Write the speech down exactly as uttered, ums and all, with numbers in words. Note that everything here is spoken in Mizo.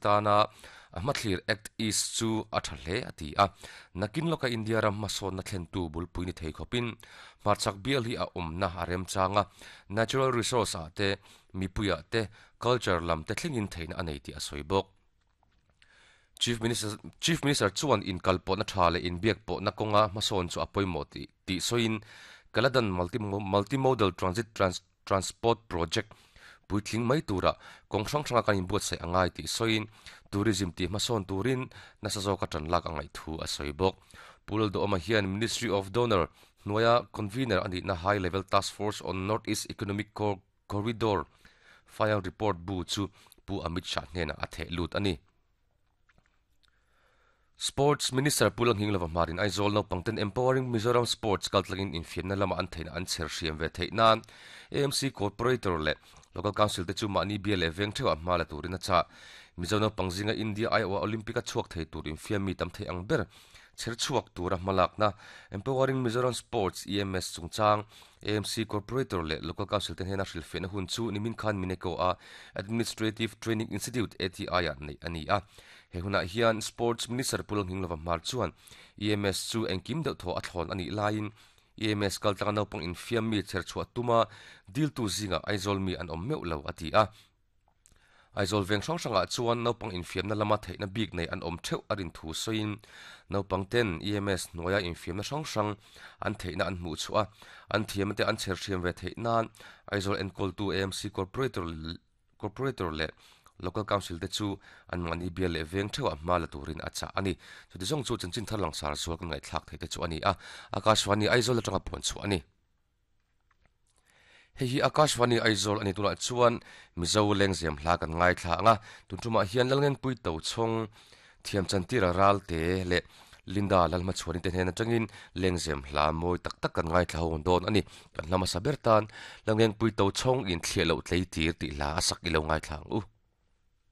tana a hmathlir Act East chu a tha hle a ti a nakin loka India ram hmasawn na thlen tu bulpui ni thei khawpin hmarchhak bial hi a awmna a remchanga natural resource ah te mipuia te culture lam te thlengin theihna a nei tih a sawi bawk. Chief Minister Chief Minister chuan in kalpawh na tha le in biak pawh na kawnga hmasawn chu a pawimawh ti tih sawiin Kaladan multi multimodal transit trans, transport project puitling mai tura kawng hrang hranga kan inbuatsaih angai tih sawiin tourism tih hmasawn turin nasa zawka tan lak angai thu a sawi bawk. Pu Lalduhoma hian Ministry of DoNER hnuaia convener ani na High Level Task Force on North East Economic Corridor final report bu chu Pu Amit Shah hnena a theh lut ani. Sports Minister Pu Lalnghinglova Hmarin Aizawl naupangten Empowering Mizoram Sports kaltlangin infiamna lama an theihna an chher hriam ve theih nan A M C Corporator leh Local Council te chu mahni bial leh veng theuh ah hma la turin a chah. Mizo naupang zinga India aiawh Olympic a chhuak thei tur infiam mi tam thei ang ber chher chhuak tura hmalakna Empowering Mizoram Sports E M S chungchang A M C Corporator leh Local Council te hnena hrilhfiahna hun chu nimin khan Mineko a Administrative Training Institute A T I ah neih ani a. He hunah hian Sports Minister Pu Lalnghinglova Hmar chuan E M S chu engkim deuh thaw a thlawn anih laiin E M S kaltlanga naupang infiam mi chher chhuah tuma dil tu zinga Aizawl mi an awm meuh lo a ti a. Aizawl veng hrang hrangah chuan naupang infiamna lama theihna bik nei an awm theuh a rin thu sawiin naupang ten E M S hnuaia infiamna hrang hrang an theihna an hmuh chhuah a an thiam te an chher hriam ve theih nan Aizawl enkawltu A M C Corporator Corporator leh Local Council te chu an mahni bial leh veng theuh ah hma la turin a chah ani. Chuti zawng chu chanchin thar langsar zual kan ngaihthlak thei te chu ani a, Akashvani Aizawl atanga puan chhuah ani. Hei hi Akashvani Aizawl ani. Tunah chuan Mizo lengzem hla kan ngaithla anga, tun tumah hian Lalngengpui Tochhawng thiam chantira Ralte leh Linda Lalhmachhuani te hnen atangin lengzem hla mawi tak tak kan ngaithla ho dawn ani. Kan hla hmasa ber tan Lalngengpui Tochhawng in Thliah Loh Tlei Tir tih hla a sak i lo ngaithla ang u.